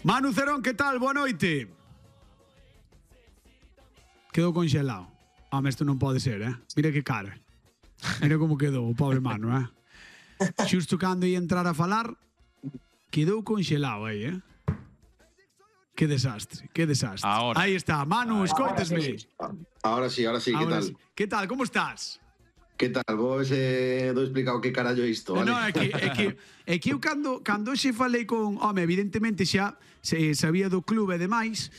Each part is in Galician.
Manu Cerón, que tal? Boa noite. Quedou conxelado. Home, isto non pode ser, Mira que cara. Mira como quedou o pobre Manu, Xusto cando ia entrar a falar, quedou conxelado aí, Que desastre, que desastre. Ahora. Aí está, Manu, escoitesme. Ahora sí, que tal? Sí. Que tal, como estás? Que tal? Vos do explicado que carallo é isto, vale? No, é que eu cando xe falei con... Home, evidentemente xa sabía do clube e demais,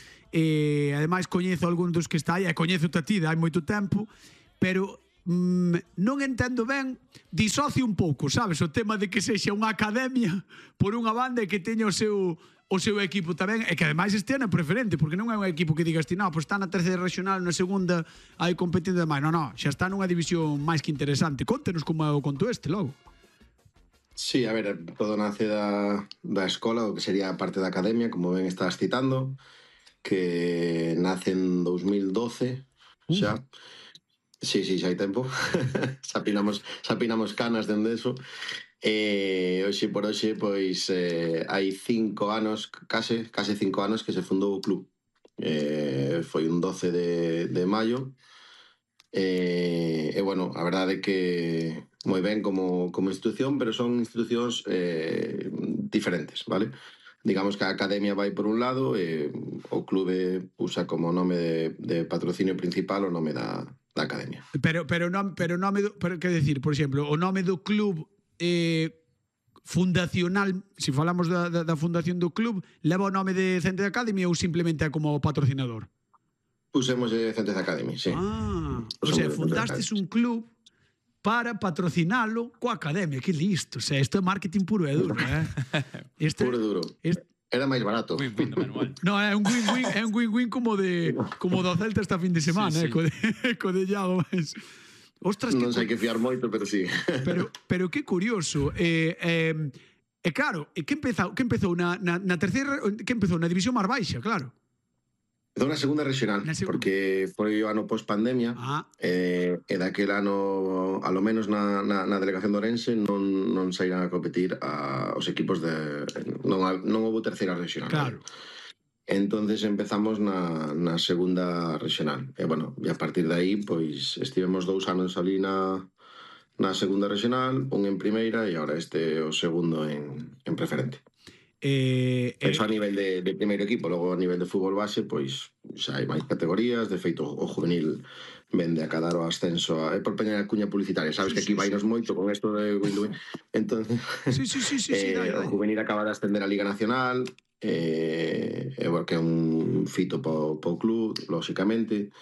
ademais coñezo algún dos que está aí, e coñezo a ti, hai moito tempo, pero non entendo ben, disocio un pouco, sabes, o tema de que sexa unha academia por unha banda e que teña o seu equipo tamén, e que ademais este ano é preferente, porque non é un equipo que digas ti, no, pois está na terceira regional, na segunda hai competindo demais, non, xa está nunha división máis que interesante. Contenos como é o conto este, logo. Sí, a ver, todo nace da escola, o que sería a parte da academia, como ben estás citando, que nace en 2012, xa. Sí, xa hai tempo. xa pinamos canas dende eso. Hoxe por hoxe, pois, hai 5 anos, case 5 anos que se fundou o club. Foi un 12 de maio. Bueno, a verdade é que moi ben como institución, pero son institucións diferentes, vale? Digamos que a academia vai por un lado e o clube usa como nome de patrocinio principal o nome da academia. Pero quer decir, por exemplo, o nome do club fundacional, se falamos da fundación do club, leva o nome de Centre Academy ou simplemente é como patrocinador? Usemos Centre Academy, sí. O sea, fundastes un club para patrocinalo coa academia. Que listo, o sea, isto é marketing puro e duro, Puro e duro. Era máis barato. Win-win do manual. No, é un win-win como do Celta esta fin de semana, sí. Co de Iago, mas... Ostras, non sei que fiar moito, pero sí. Pero que curioso. Claro, que empezou na terceira, que empezou na división máis baixa, claro. Empezou na segunda regional, porque foi o ano post-pandemia, e daquel ano, alo menos na delegación de Ourense, non saíran a competir os equipos de... Non houve terceira regional. Claro. Entonces empezamos na segunda regional. E, bueno, e a partir de aí, pois, estivemos 2 anos ali na segunda regional, un en primeira, e agora este o segundo en preferente. Eso a nivel de primeiro equipo. Logo a nivel de fútbol base, pois xa hai máis categorías. De feito, o juvenil vende a cadar o ascenso por peña cuña publicitaria, sabes que aquí vainos moito con esto de win-win. Entonces, o juvenil acaba de ascender a Liga Nacional, porque é un fito po club, lóxicamente.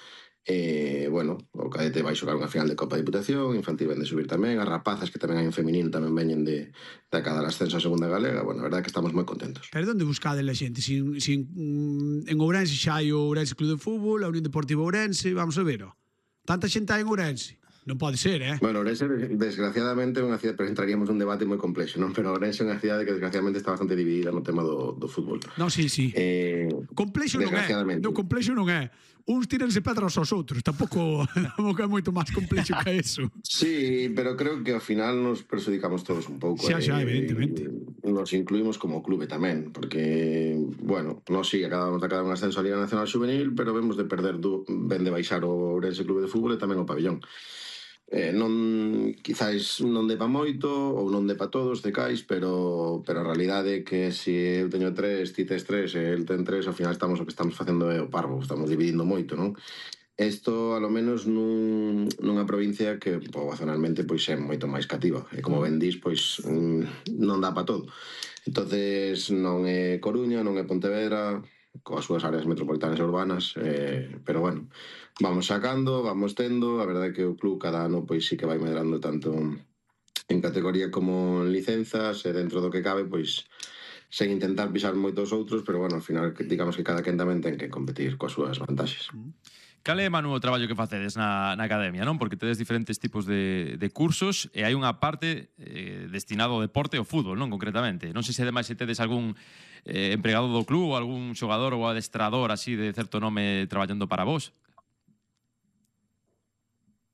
Bueno, o cadete vai xogar unha final de Copa de Diputación, infantil vende subir tamén, as rapazas que tamén hai en feminino tamén veñen de cada ascenso a segunda galega. Bueno, a verdade é que estamos moi contentos. Pero onde buscade a xente? En Ourense xa hai o Ourense Club de Fútbol, a Unión Deportiva Ourense, vamos a ver, tanta xente hai en Ourense. Non pode ser, Bueno, Ourense, desgraciadamente, é unha cidade, pero entraríamos nun debate moi complexo, non? Pero Ourense é unha cidade que desgraciadamente está bastante dividida no tema do fútbol. Non, sí. Complexo non é. Non, complexo non é. Uns tírense pedras aos outros. Tampouco é moito máis complexo que eso. Sí, pero creo que ao final nos perjudicamos todos un pouco. Xa, evidentemente. Nos incluímos como clube tamén, porque, bueno, nós sí, acabamos de acabar un ascenso a Liga Nacional Juvenil, pero vemos de perder, ben de baixar o Ourense Clube de Fútbol e tamén o pabellón. Quizás non depa moito ou non depa todos de cais, pero a realidade é que se eu teño 3, ti tes 3 e el ten 3, ao final o que estamos facendo é o parvo, estamos dividindo moito, non? Isto, alo menos, nunha provincia que poblacionalmente pois é moito máis cativa, e como ben dis, pois non dá pa todo. Entonces non é Coruña, non é Pontevedra, coas súas áreas metropolitanas e urbanas, pero bueno, vamos sacando, vamos tendo. A verdade é que o club cada ano pois sí que vai medrando tanto en categoría como en licenzas, e dentro do que cabe, pois sen intentar pisar moitos outros, pero bueno, ao final digamos que cada quen tamén ten que competir coas súas vantaxes. Cal é, Manu, o traballo que facedes na academia, non? Porque tedes diferentes tipos de cursos e hai unha parte destinada ao deporte e ao fútbol, non? Concretamente. Non sei se ademais se tedes algún empregado do club ou algún xogador ou adestrador así de certo nome traballando para vos.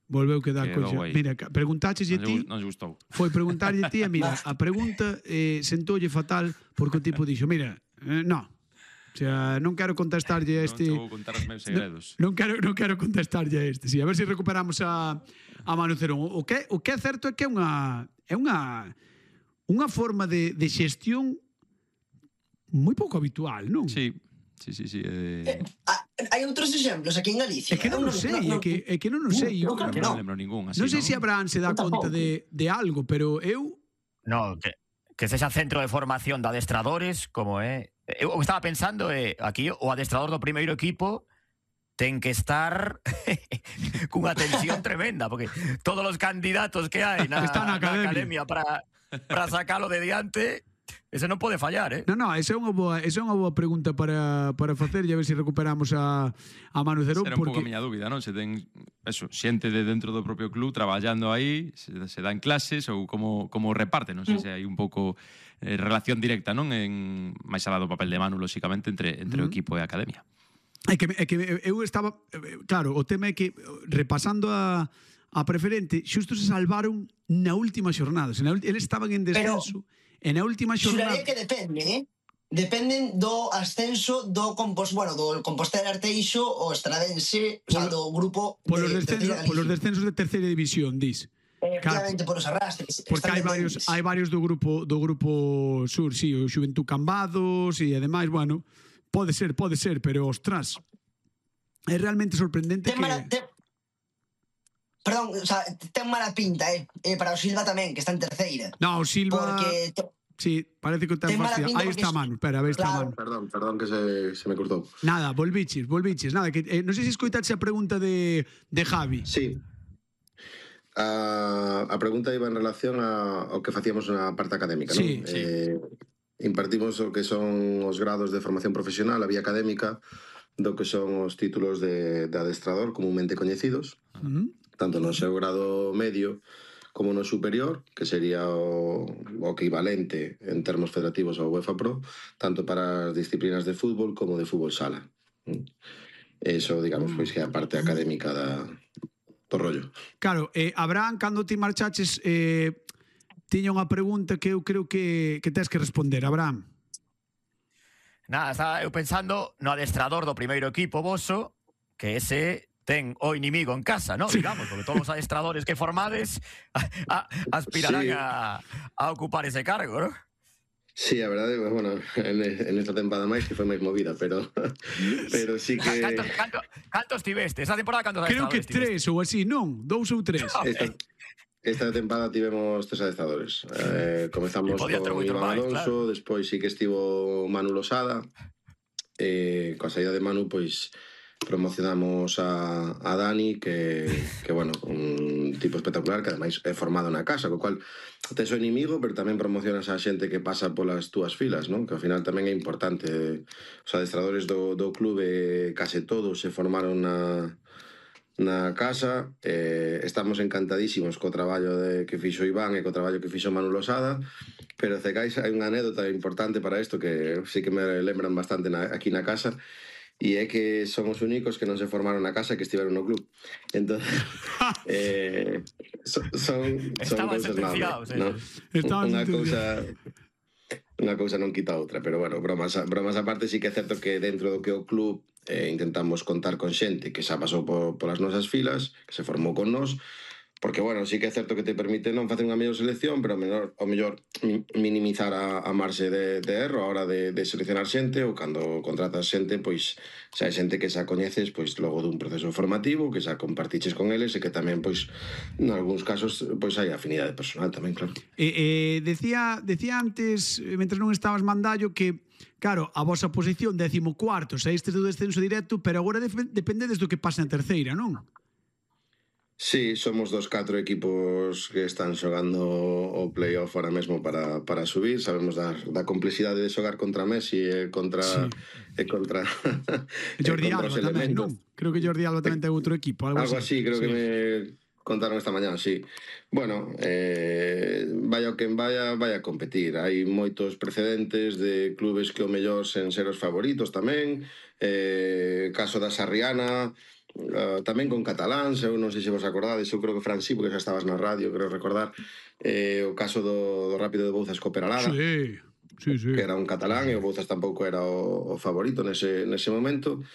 Volveu quedar coxa. Mira, preguntaches a ti. Non gustou. Foi preguntarlle a ti e mira, a pregunta sentoulle fatal porque o tipo dixo, mira, no. O sea, non quero contestarlle a este... Non vou contar os meus segredos. Non quero contestarlle a este. Sí, a ver se recuperamos a Manu Cerón. O que é certo é que é unha forma de xestión moi pouco habitual, non? Sí. Hai outros exemplos aquí en Galicia. É que non o sei, é que non o sei. Non, claro que Non lembro ningún así, Non sei se Abraham se dá Eu tampouco. conta de algo, pero eu... No, que sexa centro de formación de adestradores, como é... Eu estaba pensando, aquí o adestrador do primeiro equipo ten que estar cunha tensión tremenda, porque todos os candidatos que hai na academia para sacalo de diante, ese non pode fallar, Non, esa é unha boa pregunta para facer, e a ver se recuperamos a Manu Cerón. Será un pouco a miña dúbida, non? Se ten xente de dentro do propio club traballando aí, se dan clases ou como reparte, non sei se hai un pouco relación directa, non? Máis alá do papel de Manu, lóxicamente, entre o equipo e a academia. É que eu estaba... Claro, o tema é que, repasando a preferente, xusto se salvaron na última xornada. Eles estaban en descenso... E na última xornada... Xuraría que depende, Dependen do ascenso do Compostela Arteixo o Estradense, o sea, do grupo polos descensos de terceira división, dis. Efectivamente, polos arrastres. Porque hai varios do grupo sur, sí, o Xuventud Cambados e ademais, bueno, pode ser, pero ostras, é realmente sorprendente Perdón, o sea, ten mala pinta, para o Silva tamén, que está en terceira. No, o Silva... Sí, parece que ten facía. Aí está Manu, espera, a ver, está Manu. Perdón que se me cortou. Nada, volviches. Nada, que non sei se escoitaxe a pregunta de Javi. Sí. A pregunta iba en relación ao que facíamos na parte académica, non? Sí. Impartimos o que son os grados de formación profesional, a vía académica, do que son os títulos de adestrador comúnmente coñecidos, tanto no seu grado medio como no superior, que sería o equivalente en termos federativos ao UEFA Pro, tanto para as disciplinas de fútbol como de fútbol sala. Eso, digamos, pois que é a parte académica do rollo. Claro, Abraham, cando ti marchaches, tiña unha pregunta que eu creo que tes que responder, Abraham. Nada, estaba eu pensando no adestrador do primeiro equipo voso, que ese ten o inimigo en casa, ¿no? Sí. Digamos, porque todos os adestradores que formades aspirarán a ocupar ese cargo, ¿no? Sí, a verdade, bueno, en esta temporada máis que foi máis movida, pero sí que... Cantos tiveste? Esa temporada cantos adestradores tiveste? Creo que 3 ou así, non? 2 ou 3. Esta temporada tivemos 3 adestradores. Comezamos con Iván Alonso, despois sí que estivo Manu Losada, coa saída de Manu, pois promocionamos a Dani, que bueno, un tipo espectacular, que ademais é formado na casa, co cual tes o inimigo, pero tamén promocionas a xente que pasa polas túas filas, non? Que ao final tamén é importante. Os adestradores do clube case todos se formaron na casa. Estamos encantadísimos co traballo que fixo Iván e co traballo que fixo Manu Losada, pero cegais hai unha anécdota importante para isto que sí que me lembran bastante aquí na casa, e é que son os únicos que non se formaron na casa e que estiveron no club. Entón, son cousas nobles, ¿no? Unha cousa non quita outra, pero bueno, bromas aparte, sí que é certo que dentro do que o club intentamos contar con xente que xa pasou polas nosas filas, que se formou con nós, porque, bueno, sí que é certo que te permite non facer unha mellor selección, pero ao mellor minimizar a marxe de erro a hora de seleccionar xente, ou cando contratas xente, pois xa hai xente que xa coñeces pois logo dun proceso formativo, que xa compartiches con eles e que tamén, pois, en algúns casos, pois hai afinidade personal tamén, claro. Decía antes, mentre non estabas mandallo, que claro, a vosa posición 14º, saístes do descenso directo, pero agora dependedes do que pase na terceira, non? Sí, somos dos 4 equipos que están xogando o playoff ahora mesmo para subir. Sabemos da complexidade de xogar contra Messi e contra Jordi Alba tamén, non? Creo que Jordi Alba tamén ten outro equipo. Algo así, creo que me contaron esta mañá, sí. Bueno, vaya o quen vaya a competir. Hai moitos precedentes de clubes que o mellor sen ser os favoritos tamén. Caso da Sarriana, tamén con cataláns, eu non sei se vos acordades, eu creo que Fran sí, porque xa estabas na radio, creo recordar, o caso do Rápido de Bouzas co Peralada. sí, sí. que era un catalán, e o Bouzas tampouco era o favorito nese momento.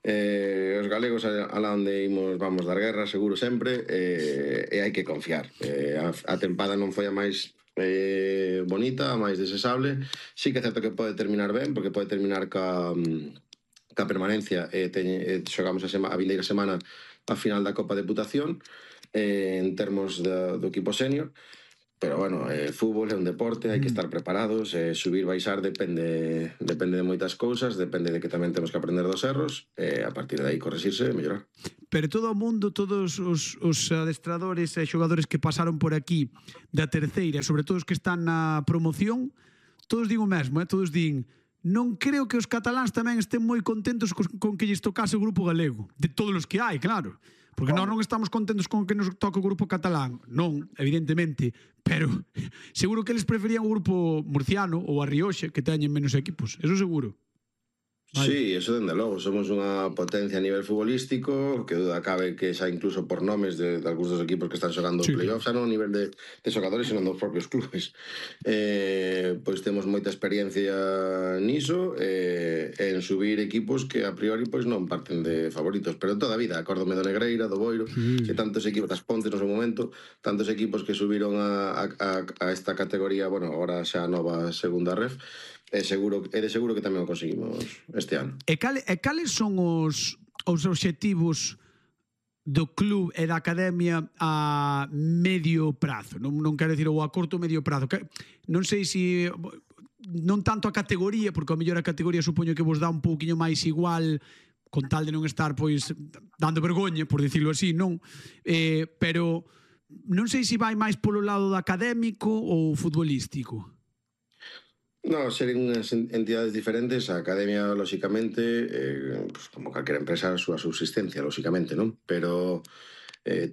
Os galegos alá onde imos vamos dar guerra seguro sempre, e hai que confiar. A tempada non foi a máis bonita, a máis desesable. Sí que é certo que pode terminar ben, porque pode terminar ca permanencia. Xogamos a vindeira semana a final da Copa Deputación, en termos do equipo senior. Pero bueno, fútbol é un deporte, hai que estar preparados, subir, baixar depende de moitas cousas, depende de que tamén temos que aprender dos erros, a partir de aí corregirse e mellorar. Pero todo o mundo, todos os adestradores e xogadores que pasaron por aquí da terceira, sobre todo os que están na promoción, todos din o mesmo, todos din: non creo que os cataláns tamén estén moi contentos con que lles tocase o grupo galego. De todos os que hai, claro. Porque nós non estamos contentos con que nos toque o grupo catalán. Non, evidentemente. Pero seguro que eles preferían o grupo murciano ou a Rioxa, que teñen menos equipos. Eso seguro. Vale. Sí, eso dende logo, somos unha potencia a nivel futbolístico, que duda cabe que xa incluso por nomes de algúns dos equipos que están xogando Sí. playoffs, xa non a nivel de xogadores, senón dos propios clubes. Pois temos moita experiencia niso, en subir equipos que a priori pois non parten de favoritos, pero toda a vida, acórdome do Negreira, do Boiro, que tantos equipos, das Pontes no seu momento, tantos equipos que subiron a esta categoría, bueno, agora xa a nova segunda ref, de seguro que tamén o conseguimos este ano. E cales son os obxectivos do club e da academia a medio prazo? Non quero dicir ou a corto ou medio prazo. Non sei se non tanto a categoría, porque ao mellor a categoría supoño que vos dá un pouquiño máis igual, con tal de non estar pois dando vergoña, por dicirlo así, non? Pero non sei se vai máis polo lado do académico ou futbolístico. No, seren unhas entidades diferentes. A academia, lóxicamente, pues, como calquera empresa, a súa subsistencia, lóxicamente, non? Pero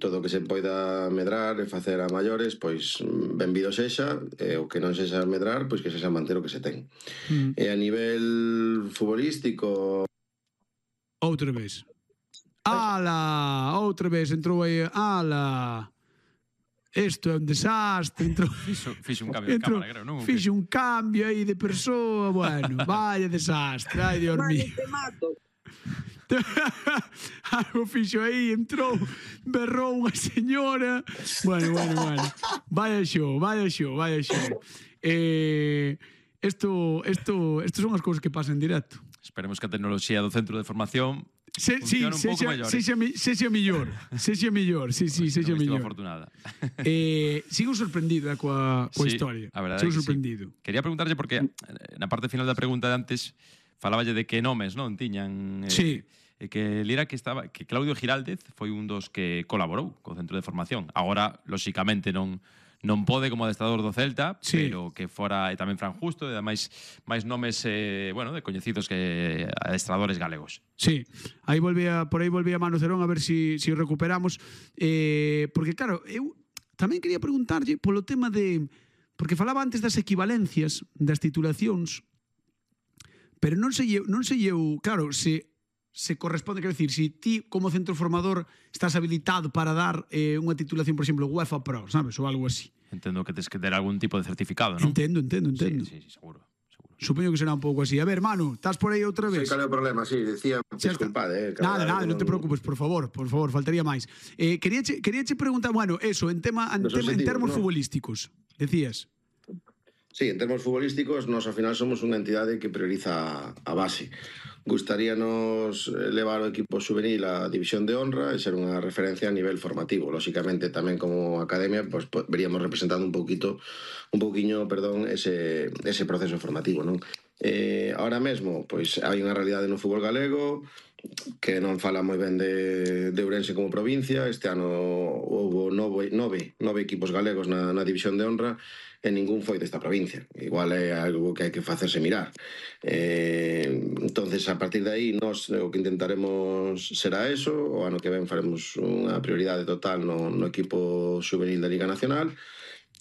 todo o que se poida medrar e facer a maiores, pois benvido sexa, o que non sexa medrar, pois que sexa manter o que se ten. E a nivel futbolístico... Outra vez. Ala! Outra vez entrou aí. Ala! Isto é un desastre. Fixo un cambio de cámara, creo, non? Fixo un cambio aí de persoa. Bueno, vaya desastre. Ai, Dios mío. Te mato. Algo fixo aí, entrou, berrou unha señora. Bueno. Vaya show. Isto son as cousas que pasan en directo. Esperemos que a tecnoloxía do centro de formación Sí, funcione un pouco mellor. sexa mellor. Sexa mellor. Afortunada. Sigo sorprendido coa Sí, historia. a verdade Sigo que sí. sorprendido. Quería preguntarlle porque na parte final da pregunta de antes falaballe de que nomes non tiñan Sí. e que lira que Claudio Giraldez foi un dos que colaborou co centro de formación. Agora, lóxicamente, non pode como adestrador do Celta, Sí. pero que fora e tamén Fran Justo e ademais máis nomes de coñecidos que adestradores galegos. Sí, por aí volvía Manu Cerón a ver si o recuperamos. Porque claro, eu tamén quería preguntarlle polo tema de... Porque falaba antes das equivalencias, das titulacións, pero non sei eu, claro, se corresponde, quero dicir, se ti como centro formador estás habilitado para dar unha titulación, por exemplo, UEFA Pro, sabes, ou algo así. Entendo que tes que ter algún tipo de certificado, non? Entendo. Sí, seguro. Supoño que será un pouco así. A ver, Manu, estás por aí outra vez? Sí, cal é o problema? Sí, decía, disculpade. Nada, non te preocupes, por favor, faltaría máis. Queríache preguntar, bueno, eso, en termos futbolísticos, decías. Sí, en termos futbolísticos, nos ao final somos unha entidade que prioriza a base. Gustaríanos levar o equipo juvenil á división de honra e ser unha referencia a nivel formativo. Lóxicamente, tamén como academia, pues, veríamos representando un pouquiño, ese proceso formativo, non? Ahora mesmo, pois, hai unha realidade no fútbol galego que non fala moi ben de Ourense como provincia. Este ano houve nove equipos galegos na división de honra e ningún foi desta provincia. Igual é algo que hai que facerse mirar. Entonces, a partir de aí, nós o que intentaremos será eso. O ano que ven faremos unha prioridade total no equipo juvenil da Liga Nacional,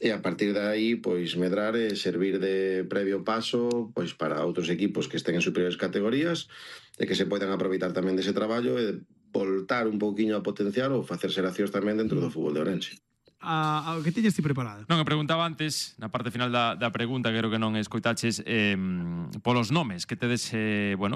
e a partir de aí, pois, medrar e servir de previo paso, pois, para outros equipos que estén en superiores categorías e que se poidan aproveitar tamén dese traballo e voltar un pouquiño a potenciar ou facer xeracións tamén dentro do fútbol de Ourense. ao que tiñas ti preparado. Non, eu preguntaba antes, na parte final da pregunta, que creo que non escoitaches, polos nomes que tedes,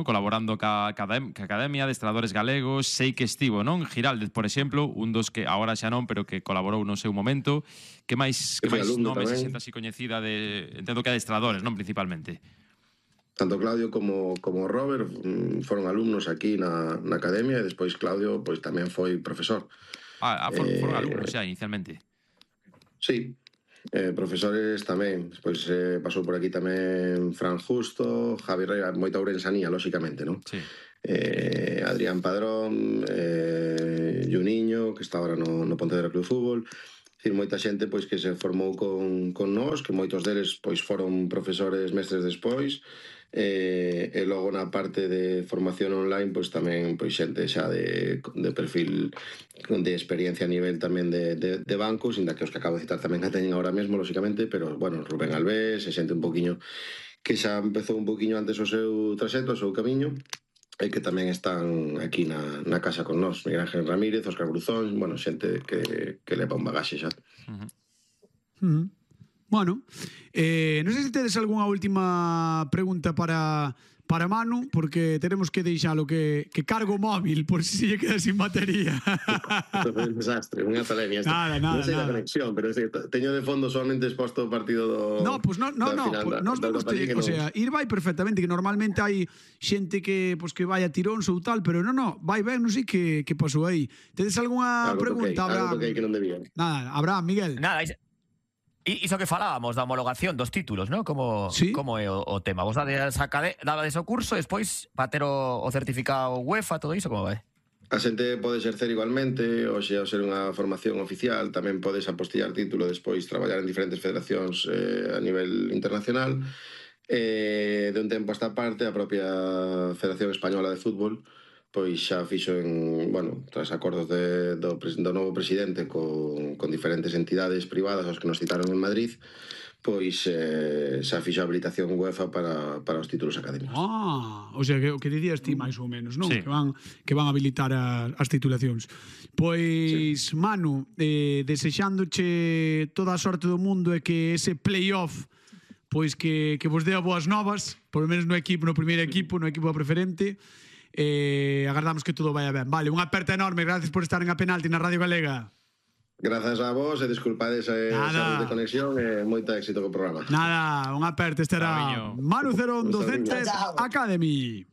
colaborando ca Academia de Adestradores Galegos. Sei que estivo, non? Giraldez, por exemplo, un dos que agora xa non, pero que colaborou no seu momento. Que máis nomes se xente así coñecida de... Entendo que adestradores, non? Principalmente. Tanto Claudio como Robert foron alumnos aquí na Academia, e despois Claudio pois tamén foi profesor. Foron alumnos xa, inicialmente. Sí, profesores tamén. Despois pasou por aquí tamén Fran Justo, Javi Rey, moita ourensanía, lóxicamente, non? Sí. Adrián Padrón, Juniño, que está agora no Pontevedra Club de Fútbol. Dicir, moita xente pois que se formou con nós, que moitos deles pois foron profesores mestres despois. E logo na parte de formación online pois tamén pois xente xa de perfil de experiencia a nivel tamén de bancos, inda que os que acabo de citar tamén a teñen ahora mesmo, lóxicamente, pero bueno, Rubén Alves e xente un poquinho que xa empezou un poquinho antes o seu traxecto, o seu camiño, e que tamén están aquí na casa con nós. Miguel Ángel Ramírez, Óscar Bruzón, bueno, xente que leva un bagaxe xa. Bueno, non sei se tedes algunha última pregunta para Manu, porque tenemos que deixalo que cargo móvil por si lle queda sin batería. Isto foi un desastre, unha talemia. Nada. Non sei da conexión, pero teño de fondo solamente exposto o partido do... No, pues nos vemos, o sea, ir vai perfectamente, que normalmente hai xente que vai a tiróns ou tal, pero no, vai ben, non sei que pasou aí. Tedes algunha pregunta, Abraham? Algo que non debía. Nada, Abraham, Miguel. Nada, iso que falábamos da homologación dos títulos, ¿no? Como é o tema? Vos dades o curso, despois para ter o certificado UEFA, todo iso, como vai? A xente pode exercer igualmente, ou xa ser unha formación oficial, tamén podes apostillar título, despois traballar en diferentes federacións a nivel internacional. De un tempo a esta parte, a propia Federación Española de Fútbol pois xa fixo tras acordos do novo presidente con diferentes entidades privadas, os que nos citaron en Madrid, pois xa fixo a habilitación UEFA para os títulos académicos. O sea, que o que dicías ti máis ou menos, non? Sí. Que van habilitar as titulacións. Pois, sí. Manu, desexándoche toda a sorte do mundo e que ese playoff pois que vos dea boas novas, por lo menos no primeiro equipo, no equipo preferente. Agardamos que todo vaya ben. Vale, unha aperta enorme, gracias por estar en A Penalti na Radio Galega. Grazas a vos e disculpades esa de conexión e moito éxito co programa. Nada, unha aperta, este era Manu Cerón, Docente Academy.